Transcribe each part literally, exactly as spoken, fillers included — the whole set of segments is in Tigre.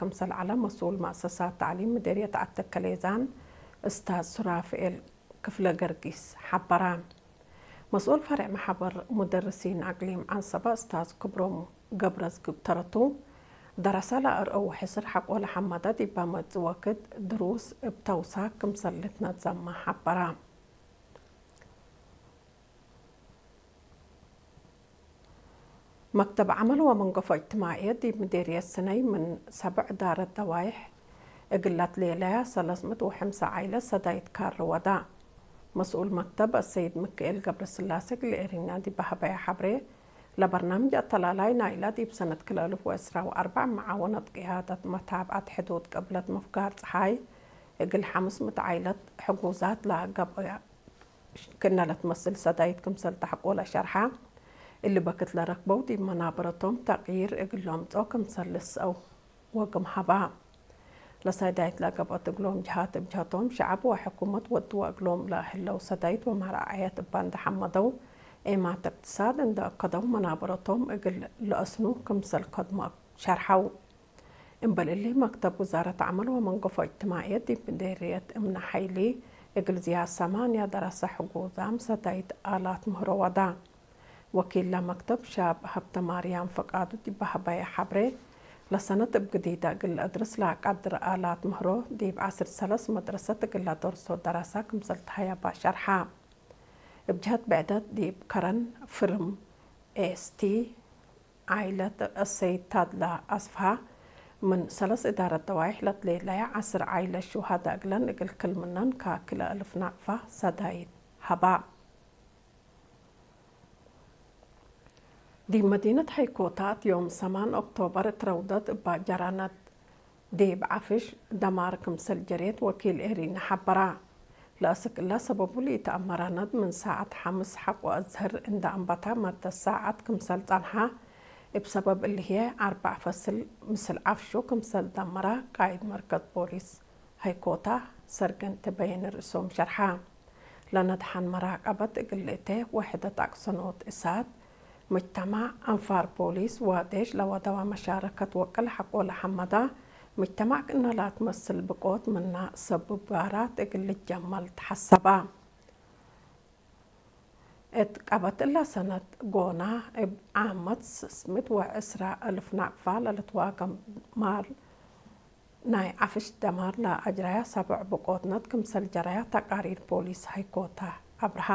ክምሰል ዐለ መስኡል መአሰሳት ተዕሊም ምዴርየት ዐተከሌዛን እስታዝ ሱራፍኤል ክፍለ ገርጊስ ሐበረ። መስኡል ፈሬዕ መሐበር ሙደርሲን አቅሊም ዐንሰበ እስታዝ ክብሮም ገብረዝግብ ተረቱ፣ ደረሰ ለአርአው ሕስር ሐቆ ለሐመደ ዲበ መጽእ ወክድ ድሩስ እብ ተውሳክ ክምሰል ልትነዘመ ሐበረ። መክተብ ዐመል ወመንገፎ እጅትማዕየት ዲብ ምዴርየት ስነይ ምን ሰብዕ ዳረት ደዋይሕ እግል ለትሌለያ ሰለስ ምእት ወሐምሳ ዓይለት ሰዳይት ካሪ ወዳ። መስኡል መክተብ አሰይድ ምክኤል ገብረስላሴ እግል ኤሪና ዲብ ሀበያ ሐብሬ፣ ለበርናምጅ አተላላይ ናይላ ዲብ ሰነት ክልኤ አልፍ ወዕስራ ወአርበዕ መዓወነት ቅያደት መታብዐት ሕዱድ ቅብለት ምፍጋር ጸሓይ እግል ሐምስ ምእት ዓይለት ሕጉዛት ለገብአ ክእነ ለትመስል ሰዳይት ክምሰል ተሐቆለ ሸርሐ። እሊ በክት ለረክበው ዲብ መናበረቶም ተቅይር እግል ለምጽኦ ክምሰል ልስአው ወግም ሀባ። ለሰዳይት ለገብአት እግሎም ጀሃት እብ ጀሀቶም ሸዐብ ወሕኩመት ወድወ እግሎም ለህለው ሰዳይት ወመራዐየት እባ እንደ ሐመደው፣ ኤማት እቅትሳድ እንደ አከደው መናበረቶም እግል ለአስኑ ክምሰል ከድሞ ሸርሐው። እምበል እሊ፣ መክተብ ውዛረት ዐመል ወመንገፎ እጅትማዕየት ዲብ ምዴርየት እምነ ሐይሊ እግል ዝያድ ሰማንያ ደረሰ ሕጉዛም ሰዳይት አላት ምህሮ ወዳ። ወኪል ለመክተብ ሻብ ሀብተማርያም ፍቃዱ ዲብ ሀበየ ሐብሬ፣ ለሰነት እብ ግዲደ እግል ለአድርስ ለአቃድር አላት ምህሮ ዲብ ዐስር ሰለስ መድረሰት እግል ለደርሶ ደረሰ ክምሰል ተሀየባ ሸርሐ። እብ ጀሀት ብዕደት ዲብ ከረን ፍርም ኤስ ቲ ዓይለት አሰይድ ታድላ አስፍሃ፣ ምን ሰለስ እዳረት ደዋይሕ ለትሌለየ ዐስር ዓይለት ሹሃዳ እግለን እግል ክል ምነን ከክልኤ አልፍ ናቅፋ ሰዳይት ሀባ። ዲብ መዲነት ሀይኮታ እት ዮም ሰማን ኦክቶበር እት ረውደት እባ ጀራነት ዲብ ዐፍሽ ደማር ክምሰል ጀሬት ወኪል ኤሪነ ሐበራ። ለአስክ እለ ሰበቡ ለኢተአመረ ነድ ምን ሳዐት ሐምስ ሐቆ አዝህር እንደ አንበታ መደት ሳዐት ክምሰል ጸንሐ። እብ ሰበብ እሊ ህዬ አርበዕ ፈስል ምስል ዐፍሹ ክምሰል ደመረ ቃይድ መርከዝ ፖሊስ ሀይኮታ ሰርገንት በየነ ርእሶም ሸርሐ። ለነድሐን መራቀበት እግል ልእቴ ወሕደት አቅሰኖት እሳት፣ ምጅተማዕ፣ አንፋር ፖሊስ ወዴሽ ለወደወ መሻረከት ወቅል ሐቆ ለሐመዳ ምጅተማዕ ክእነ ላትመስል ብቆት ምና ሰብብ ጋራት እግል ልጀመል ተሐሰባ። እት ቀበት እለ ሰነት ጎና እብ ዓመት ሰስምት ወዕስራ እልፍ ናቅፋ ለልትዋገም ማል ናይ ዐፍሽ ደማር ለአጅረያ ሰብዕ ብቆትነት ክምሰል ጀረያ ተቃሪር ፖሊስ ሀይኮታ አብርሃ።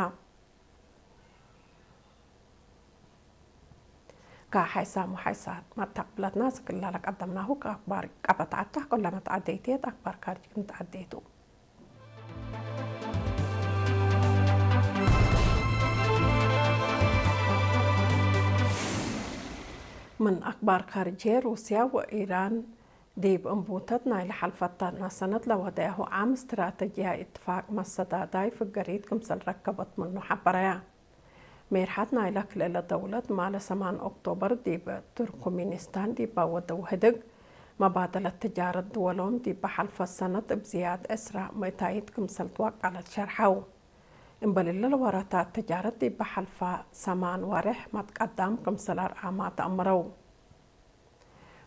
ከሐይሳም ወሐይሳት መተቅብለትና ስክላ ለቀደምናሁ ከአክባር ቀበት ዐዳ፣ ኩለመ ተዐደይትየት አክባር ካርጅ ክንትዐደይቱ። ምን አክባር ካርጅ፣ ሩስያ ወኢራን ዲብ እንቡተት ናይለ ሐልፈታና ሰነት ለወደያሁ ዓም እስትራተጅያይ እትፋቅ መሰዳዳይ ፍገሪት ክምሰል ረከበት ምኑ ሐበረያ። ሜርሐት ናይለ ክልኤ ደውለት ማለ ሰማን ኦክቶበር ዲብ ቱርኩሚኒስታን ዲብ ወደው ህድግ መባደለት ትጃረት ድወሎም ዲብ ሐልፈ ሰነት እብ ዝያድ ዕስራ ምእታይት ክምሰል ትወቀለት ሸርሐው። እምበል እለ ለወራታት ትጃረት ዲብ ሐልፈ ሰማን ዋሬሕ መትቀዳም ክምሰል አርአማ ተአምረው።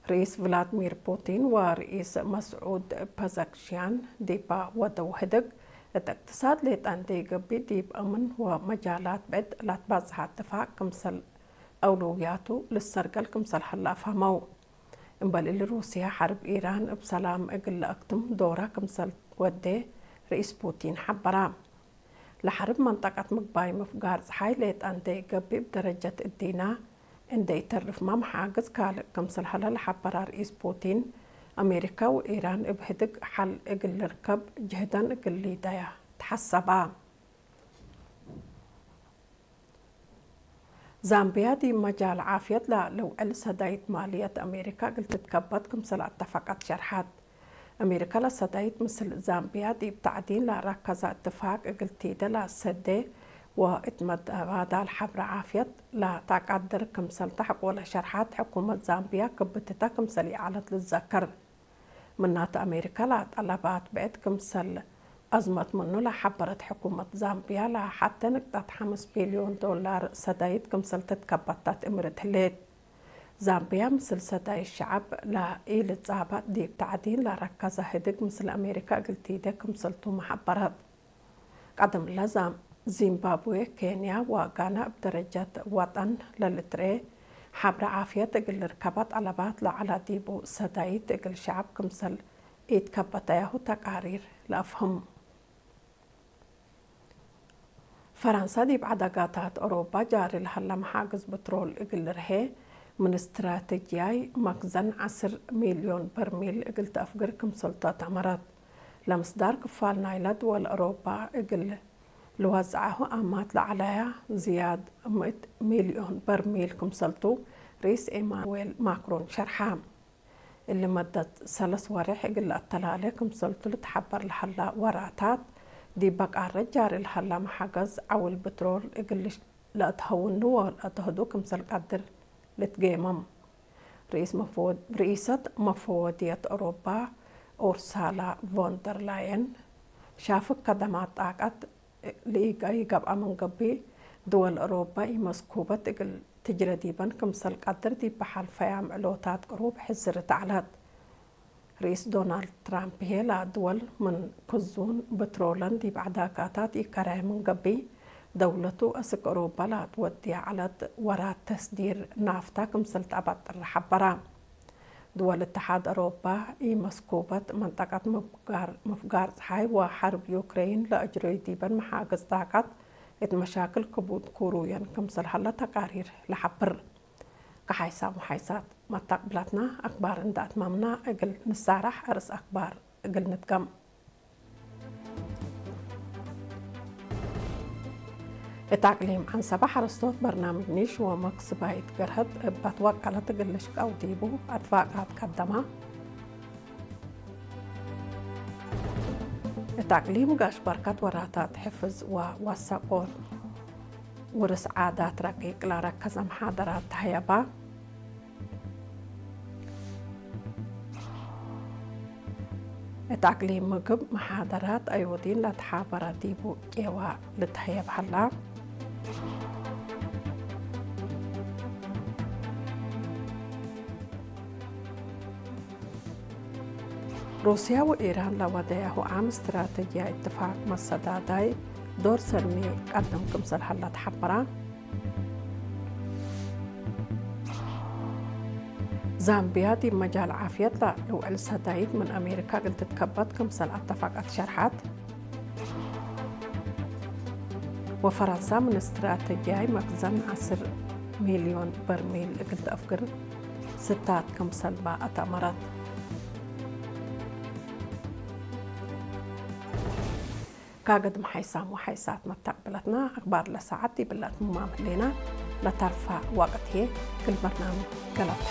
ርኢስ ቭላድሚር ፑቲን ወርኢስ መስዑድ ፐዘሽኪያን ዲበ ወደው ህድግ፣ እት እቅትሳድ ሌጠ እንዴ ገብእ፣ ዲብ አምን ወመጃላት ብዕድ ለትባጽሐ እትፋቅ ክምሰል አውለውያቱ ልሰርገል ክምሰል ሀለ አፍሀመው። እምበል እሊ፣ ሩስያ ሐርብ ኢራን እብ ሰላም እግል ለአክትም ዶራ ክምሰል ወዴ ርኢስ ፑቲን ሐበራ። ለሐርብ መንጠቀት ምግባይ ምፍጋር ጸሓይ ሌጠ እንዴ ገብእ፣ እብ ደረጀት እዲና እንዴ ኢተርፍመ መሓግዝ ካልእ ክምሰል ሀለ ለሐበራ ርኢስ ፑቲን፣ አሜሪካ ወኢራን እብ ህድግ ሐል እግል ልርከብ ጅህደን እግል ሊደያ ተሐሰባ። ዛምቢያ ዲብ መጃል ዓፍየት ለልውዕል ሰዳይት ማልየት አሜሪካ እግል ትትከበት ክምሰል አተፈቀት ሸርሐት። አሜሪካ ለሰዳይት ምስል ዛምቢያ ዲብ ተዕዲን ለረከዘ እትፋቅ እግል ቲደ ለሰዴ ወእት መተባዳል ሐብረ ዓፍየት ለተቀድር ክምሰል ተሐቆለ ሸርሐት፣ ሕኩመት ዛምቢያ ክብትተ ክምሰል ይዐለት ልዘከር። ምናተ አሜሪካ ለጠለባት ብዕድ ክምሰል አዝመት ምኑ ለሐበረት ሕኩመት ዛምቢያ፣ ለሐቴ ንቅጠት ሐምስ ቢልዮን ዶላር ሰዳይት ክምሰል ትትከበታ ትእምርት ህሌት። ዛምብያ ምስል ሰዳይት ሸዐብ ለኢልጻባጥ ዲብ ተዕዲን ለረከዘ ህድግ ምስል አሜሪካ እግል ቲዴ ክምሰልቱ መሐበረት። ቀደም ለዛም ዚምባብዌ፣ ኬንያ ወጋና እብ ደረጀት ወጠን ለልትርኤ ሐብረ ዓፍየት እግል ልርከበ ጠለባት ለዐለ ዲቡ ሰዳይት እግል ሸዐብ ክምሰል ኢትከበተያሁ ተቃሪር ለአፍህም። ፈረንሳ ዲብ ዐደጋታት ኦሮባ ጃሪ ለሀለ መሓግዝ ብትሮል እግል ልርሄ፣ ምን ስትራተጅያይ መክዘን ዐስር ሚልዮን በርሚል እግል ተአፍግር ክምሰልቱ አተመረት። ለምስዳር ክፋል ናይለ ድወል ኦሮባ እግል ልወዝዐሁ አማት ለዐለያ ዝያድ ምእት ሚልዮን በርሚል ክምሰልቱ ርኢስ ኤማኑዌል ማክሮን ሸርሐ። እሊ መደት ሰለስ ወሬሕ እግል ለአተላሌ ክምሰልቱ ልትሐበር ለሀላ ወራታት፣ ዲበ ቃረት ጃሪ ለሀላ መሓገዝ ዐውል ብትሮል እግል ለአትሀውኑ ወለአትሀዱ ክምሰል ቀድር ልትጌመም። ርኢስ መፈወድ-፣ ርኢሰት መፈወድየት ኦሮባ ኡርሳላ ቮን ደር ላየን፣ ሻፍግ ከደማት ጣቀት ለኢገብአ ምን ገብእ፣ ድወል ኦሮባ ኢመስኩበት እግል ትጅረ ዲበን ክምሰል ቀድር ዲብ በሐል ፈያም ዕሎታት ቅሩብ ሕዝርት ዐለት። ርኢስ ዶናልድ ትራምፕ ህዬ፣ ለድወል ምን ክዙን ብትሮለን ዲብ ዐዳጋታት ኢከረየ ምን ገብእ፣ ደውለቱ አስክ ኦሮባ ለአትወድየ ዐለት ወራት ተስዲር ናፍታ ክምሰል ተአበጥር ሐበረ። ድወል እትሓድ አውሮፓ ኢመስኩበት መንጠቀት ምፍጋር፣ ምፍጋር ጸሓይ ወሐርብ ዩክሬን ለአጅረዩ ዲበን መሓግዝ ጣቀት እት መሻክል ክቡድ ኩሩየን ክምሰል ሀለ ተቃሪር ለሐብር። ከሓይሳም ወሓይሳት መተቅብላትና አክባር እንደ አትማምና እግል ንሳራሕ፣ አርስ አክባር እግል ንድገም። እት አቅሊም ዐንሰበ ሐረስቶት በርናምጅ ኒሽ ወመክስባይት ገርሀት እብ አትወቀለት እግል ልሽቀው ዲቡ አትፋቃት ቀደማ። እት አቅሊም ጋሽ በርከት ወራታት ሕፍዝ ወወሰቆት ውርስ ዓዳት ረቂቅ ለረከዘ መሓደራት ተሀየባ። እት አቅሊም ምግብ መሓደራት አዮዲን ለተሓበረ ዲቡ ቄዋ ልትሀየብ ሀላ። ሩስያ ወኢራን ለወደያሁ ዓም ስትራተጅያይ እትፋቅ መሰዳዳይ ዶር ሰኒ ቀድም ክምሰል ሀላ ተሐበራ። ዛምቢያ ዲብ መጃል ዓፍየት ለልውዕል ሰዳይት ምን አሜሪካ እግል ትትከበት ክምሰል አተፋቀት ሸርሐት። ወፈረንሳ ምን ስትራተጅያይ መክዘን ዐስር ሚልዮን በርሚል እግል ተአፍግር ስታት ክምሰልባ አተአመረት። ካገድም ሓይሳም ወሓይሳት መተቅብለትና አክባር ለሰዓት ዲብለ አትምማም ህሌና። ለተርፈ ወቅት ህዬ እግል በርናምጅ ገለብ